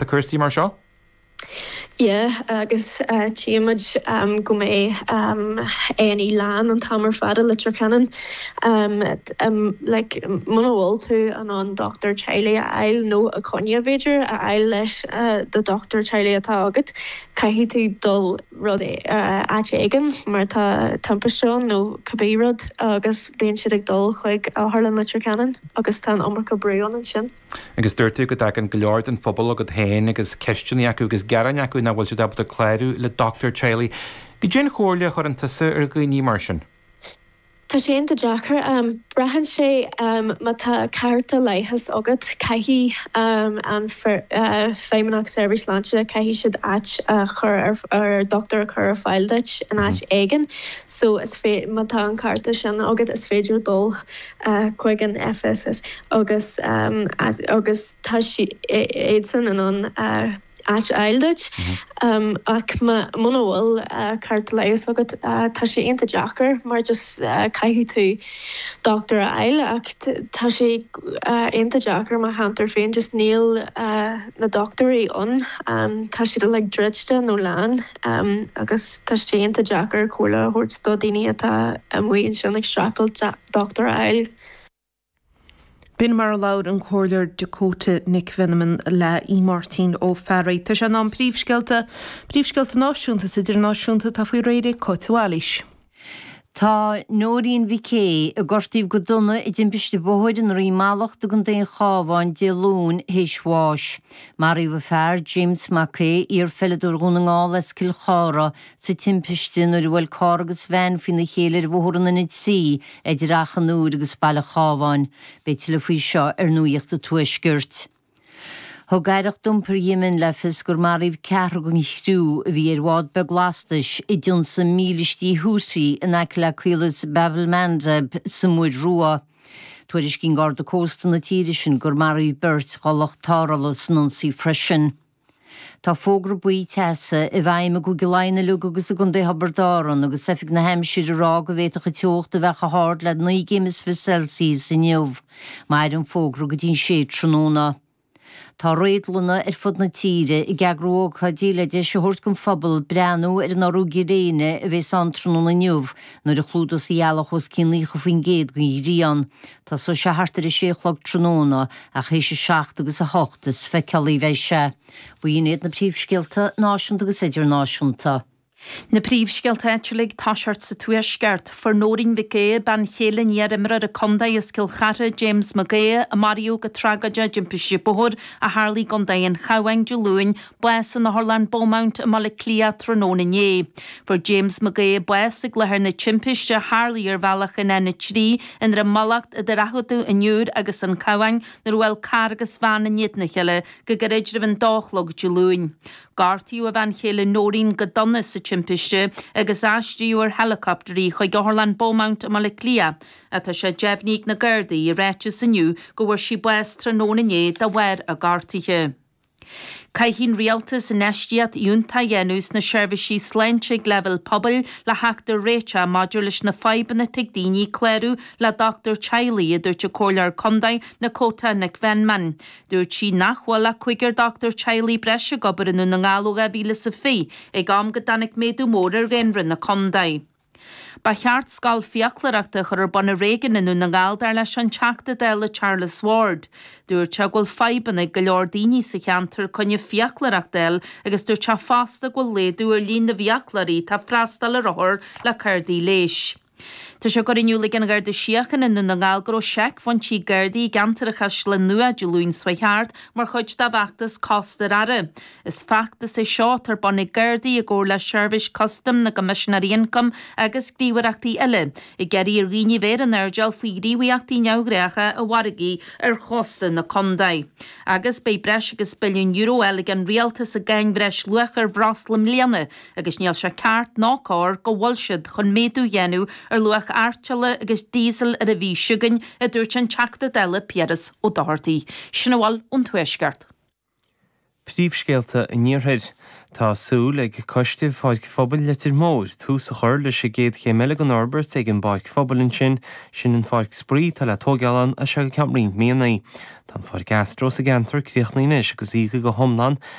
Tá cúrsaí mar seo? Yeah, agus tchímid go mbeidh A&E lán an t-am ar fad i Leitir Ceanainn. Like, muna bhfuil tú in ann dochtúir teaghlaigh a fháil, nó coinne b'fhéidir a fháil leis do dochtúir teaghlaigh atá agat, caithfidh tú dul rud áit éigin mar tá timpiste ann nó cibé rud agus bíonn siad ag dul chuig Otharlann Leitir Ceanainn agus tá an iomarca brú ann ansin. Agus dúirt tú go dtagann go leor den phobal chugat féin agus ceisteanna acu agus gearáin acu nach bhfuil siad ábalta clárú le dochtúir teaghlaigh. Goidé an chomhairle a chuireann tusa ar dhaoine mar sin? Tá sé iontach deacair. Braitheann sé má tá cárta leighis agat, caithfidh an Feidhmeannacht Seirbhís Sláinte, caithfidh siad áit a chur ar, dochtúir a chur ar fáil duit in áit éigin. So is má tá an cárta sin agat is féidir dul chuig an FSS agus agus tá siadsan in ann áit a fháil duit ach muna bhfuil cárta leighis agat tá sé iontach deacair mar just caithfidh tú dochtúir a fháil ach tá sé iontach deacair mo cheantar féin just níl na dochtúirí ann tá siad uilig druidte nó lán agus tá sé iontach deacair comhairle a thabhairt do daoine atá amuigh ansin ag streachailt dochtúir a fháil. B'in mar a labhair an Comhairleoir Dakota Nic Mheanman le Aodh Máirtín Ó Fearraigh. Tá sé in am príomhscéalta, príomhscéalta náisiúnta is idirnáisiúnta atá faoi réir ag Cáit Mhaoilís. Tá Nóirín Mhic Aodha, a gortaíodh go dona i dtimpiste bóthair i nDroim Mallachta i gContae an Chabháin Dé Luain, théis bháis. Maraíodh a fear, James Mac Aodha, iar-pheileadóir Dhún na nGall as Cill Chartha, sa timpiste nuair a bhuail carr agus veain faoina chéile ar bhóthar an N3 idir Achadh an Iúir agus Baile Chábháin. Beidh tuilleadh faoi seo ar Nuacht an Tuaiscirt. Thug Aireacht Iompair Yemen le fios gur maraíodh ceathrar den chriú a bhí ar bhád beag lastais i dtionsaigh mílístí Houthi in aice le caolas Bab el-Mandeb sa Mhuir Rua. Tuairiscíonn Garda Cósta na tíre sin gur maraíodh beirt dá lucht tarrthála san ionsaí freisin. Tá fógra buí teasa i bhfeidhm i gCúige Laighean uilig agus i gContae Thiobraid Árann agus Oifig na hAimsire ag rá go bhféadfadh an teocht a bheith chomh hard le 29 gcéim Celsius inniu. Mairfidh an fógra go dtí an sé tráthnóna. Tá réadlanna ar fud na tíre ag eagrú ócáidí le deis a thabhairt don phobal breathnú ar an urú gréine a bheas ann tráthnóna inniu nuair a chlúdós an ghealach os cionn 90% den ghrian. Tosóidh sé thart ar a sé a chlog tráthnóna ach théis a 7 agus a 8 is feiceálaí a bheidh sé. B'in iad na príomhscéalta náisiúnta agus idirnáisiúnta. Na príomhscéalta áitiúla ag toiseacht sa Tuaisceart. Fuair Nóirín Mhic Aodha, bean chéile an iar-imreora contae as Cill Chartha, James Mag Aodha, a maraíodh go tragóideach i dtimpiste bóthair a tharlaigh i gContae an Chabháin Dé Luain, bás in Otharlann Beaumont i mBaile Átha Cliath tráthnóna inné. Fuair James Mag Aodha bás ag láthair na timpiste a tharlaigh ar bhealach an N3 i nDroim Mallachta idir Achadh an Iúir agus an Cabhán nuair a bhuail carr agus veain in éadan a chéile go gairid roimh an dó a chlog Dé Luain. Gortaíodh a bhean chéile Nóirín go dona sa timpiste agus aistríodh ar helicopter í chuig Otharlann Beaumont i mBaile Átha Cliath. Tá sé deimhnithe ag na Gardaí i ráiteas inniu go bhfuair sí bás tráthnóna inné de bharr a gortuithe. Caithfidh an Rialtas infheistíocht fhiúntach a dhéanamh sna seirbhísí sláinte ag leibhéal pobail le theacht ar réiteach maidir leis na fadhbanna atá ag daoine clárú le dochtúir teaghlaigh, a dúirt an Comhairleoir Contae Nakota Nic Mheanman. Dúirt sí nach bhfuil ach cúigear dochtúir teaghlaigh breise ag obair i nDún na nGall ó 2020, ag am go dtáinig méadú mór ar dhaonra na contae. Ba cheart scoil fiaclóireachta a chur ar bun i Réigiún i nDún na nGall dar leis an Teachta Dála Charles Ward. Dúirt sé go bhfuil fadhbanna ag go leor daoine sa cheantar coinne fiaclóireacht a fháil agus dúirt sé fosta go bhfuil laghdú ar líon na bhfiaclóirí atá ag freastal ar othair le cárdaí leighis. Tá sé curtha in iúl ag an Gharda Síochána i nDún na nGall go raibh seicphointí Gardaí i gceantar an Chaisleáin Nua Dé Luain seo chuaigh thart mar chuid dá bhfeachtas Cósta ar Aire. Is feachtas é seo atá ar bun ag Gardaí i gcomhar le Seirbhís Custaim na gCoimisinéirí Ioncaim agus gníomhaireachtaí eile, ag iarraidh ar dhaoine bheith ar an airdeall faoi ghníomhaíochtaí neamhghnácha i bhfarraigí ar chósta na contae. Agus beidh breis agus billiún euro á fháil ag an rialtas i gcáin bhreisluacha ar bhreosla i mbliana agus níl sé ceart ná cóir go bhfuil siad chun méadú a dhéanamh ar luach artiolla agus díosail ar an mhí seo chugainn, a dúirt an Teachta Dála Piaras Ó Dochartaigh. Sin a bhfuil ón Tuaisceart. Príomhscéalta an Iarthair. Tá súil ag Coiste Pháirc Phobail Leitir Móir tús a chur leis an gcéad chéim eile den fhorbairt ag an bpáirc phobail ansin, sin an pháirc spraoi atá le tóigeáil ann as seo go ceann roinnt míonna. Tá an pháirc Astro sa gceantar críochnaithe anois agus íoctha go hiomlán.